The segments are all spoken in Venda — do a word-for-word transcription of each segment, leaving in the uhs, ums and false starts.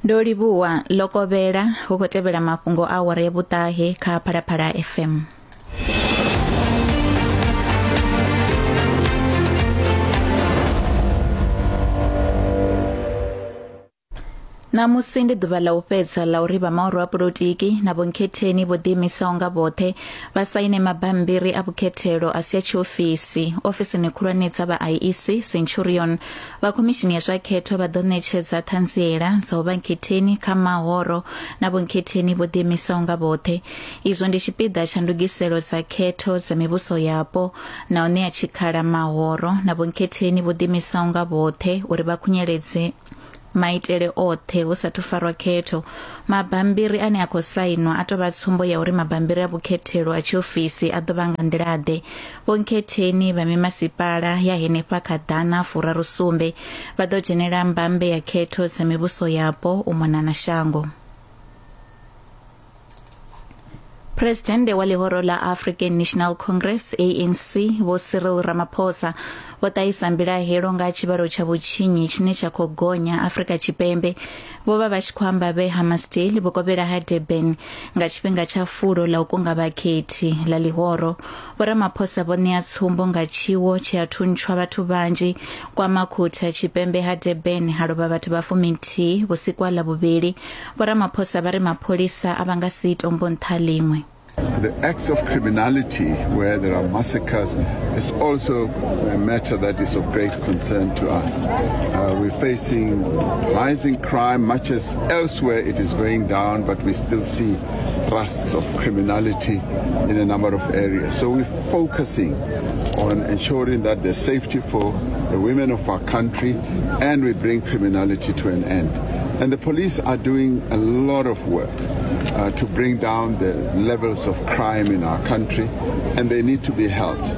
Ndo livhuwa lokovhela hu khou tevhela mafhungo a awara ya vhuṱahe kha Phalaphala F M. Ṋamusi ndi ḓuvha ḽa u fhedza ḽa uri vha mahoro a polotiki na vhonkhetheni vho ḓiimisaho nga vhoṱhe vha saine mabambiri a vhukhethelo a si a tshiofisi ofisini khulwane dza vha I E C Centurion. Vha khomishini ya zwa khetho vha ḓo ṋetshedza ṱhanziela dza u vha nkhetheni kha mahoro na vhonkhetheni vho ḓiimisaho nga vhoṱhe. Izwo ndi tshipiḓa tsha ndugiselo dza khetho dza mivhuso yapo na u ṋea tshikhala mahoro na vhonkhetheni vho ḓiimisaho nga vhoṱhe uri vha khunyeledze maitele oṱhe hu sathu farwa khetho. Mabambiri ane a khou sainwa a tou vha tsumbo ya uri mabambiri a vhukhethelo a tshiofisi a ḓo vha nga nḓila-ḓe. Vhonkhetheni vha mimasipala ya henefha kha ḓana furaru sumbe vha ḓo dzhenela mbambe ya khetho dza mivhuso yapo u mona na shango. Presidente wa ḽihoro ḽa African National Congress A N C Vho Cyril Ramaphosa vho ṱahisa mbilahelo nga tshivhalo tsha vhutshinyi tshine tsha khou gonya Afrika Tshipembe. Vho vha vha tshi khou amba vhe Hammarsdale vhukovhela ha Durban nga tshifhinga tsha fulo ḽa u kunga vhakhethi ḽa ḽihoro. Vho Ramaphosa vho ṋea tsumbo nga tshiwo tshe a thuntshwa vhathu vhanzhi kwa Makhutha Tshipembe ha Durban ha lovha vhathu vha fuminthihi vhusiku ha Ḽavhuvhili. Vho Ramaphosa vha ri mapholisa a vha nga si tombo nṱha ḽiṅwe. The acts of criminality where there are massacres is also a matter that is of great concern to us. Uh, we're facing rising crime, much as elsewhere it is going down, but we still see thrusts of criminality in a number of areas. So we're focusing on ensuring that there's safety for the women of our country and we bring criminality to an end. And the police are doing a lot of work uh, to bring down the levels of crime in our country, and they need to be helped.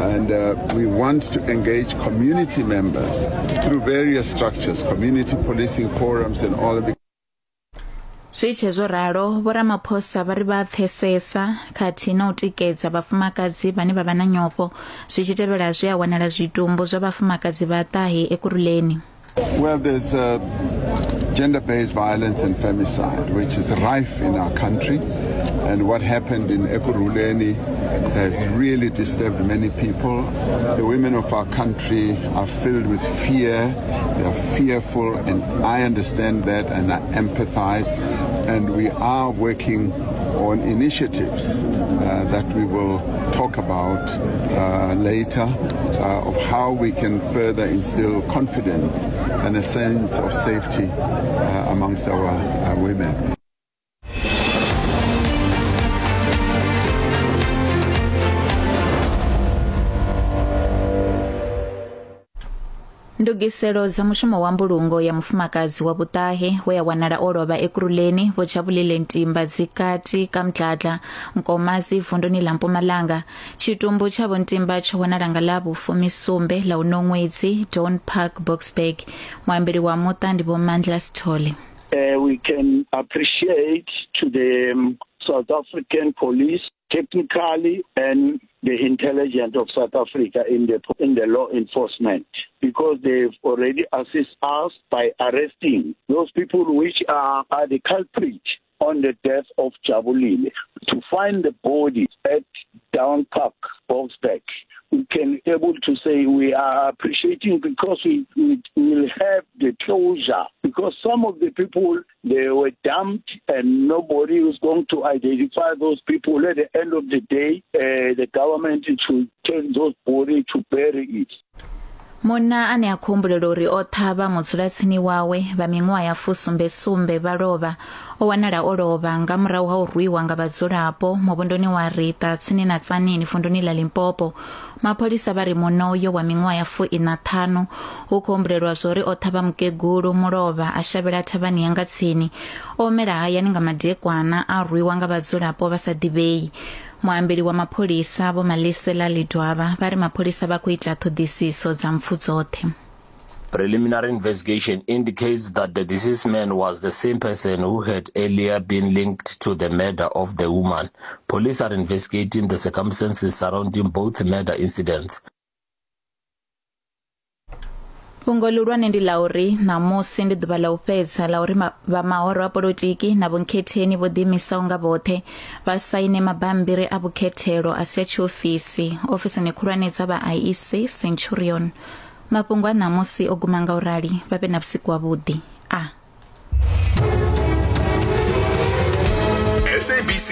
And uh, we want to engage community members through various structures, community policing forums and all of the. Zwi tshe zwo ralo, Vho Ramaphosa vha ri vha pfesesa khathihi na u tikedza vhafumakadzi vhane vha vha na nyofho zwi tshi tevhela zwe a wanala zwitumbu zwa vhafumakadzi vha ṱahe Ekurhuleni. Well, there's uh, gender-based violence and femicide, which is rife in our country. And what happened in Ekurhuleni has really disturbed many people. The women of our country are filled with fear. They are fearful, and I understand that and I empathize. And we are working on initiatives uh, that we will talk about uh, later uh, of how we can further instill confidence and a sense of safety uh, amongst our uh, women. Ndugiselo dza mushumo wa mbulungo ya mufumakadzi wa vhuṱahe we a wanala o lovha Ekurhuleni Vho Jabulile Ntimba dzikati ka Mdladla Nkomazi vunduni ḽa Mpumalanga. Tshitumbu tsha Vho Ntimba tsho wanala nga ḽa vhufumisumbe ḽa uno ṅwedzi Dawn Park Boksburg. Muambeli wa muṱa ndi Vho Mandla Sithole. Uh, we can appreciate to the um, South African police technically and the intelligence of South Africa in the in the law enforcement, because they've already assisted us by arresting those people which are, are the culprit on the death of Jabulile. To find the body at Down Park, Boksburg, we can able to say we are appreciating because we, we will have the closure, because some of the people, they were dumped and nobody was going to identify those people. At the end of the day, uh, the government should take those bodies to bury it. Munna ane a khou humbulela uri o ṱhavha mudzulatsini wawe vha miṅwaha ya fusumbe sumbe vha lovha o wanala o lovha nga murahu ha u rwiwa nga vhadzulapo muvhunduni wa Rita tsini na Tzaneen vunduni ḽa Limpopo. Mapholisa vha ri munna uyo wa miṅwaha ya fuiṋa ṱhanu hu khou humbulelwa zwori o ṱhavha mukegulu mulovha a shavhela thavhani ya nga tsini. O humela hayani nga madekwana a rwiwa nga vhadzulapo vha sa ḓivhei. Muambeli wa mapholisa Vho Malisela Lidwaba vha ri mapholisa vha khou ita ṱhoḓisiso dza mpfu dzoṱhe. Preliminary investigation indicates that the deceased man was the same person who had earlier been linked to the murder of the woman. Police are investigating the circumstances surrounding both murder incidents. Fhungo ḽihulwane ndi ḽa uri ṋamusi ndi ḓuvha ḽa u fhedza ḽa uri vha mahoro a polotiki na vhonkhetheni vho ḓiimisaho nga vhoṱhe vha saine mabambiri a vhukhethelo a si a tshiofisi ofisini khulwane dza vha I E C Centurion. Mafhungo a ṋamusi o guma nga u rali, vha vhe na vhusiku havhuḓi. A S A B C.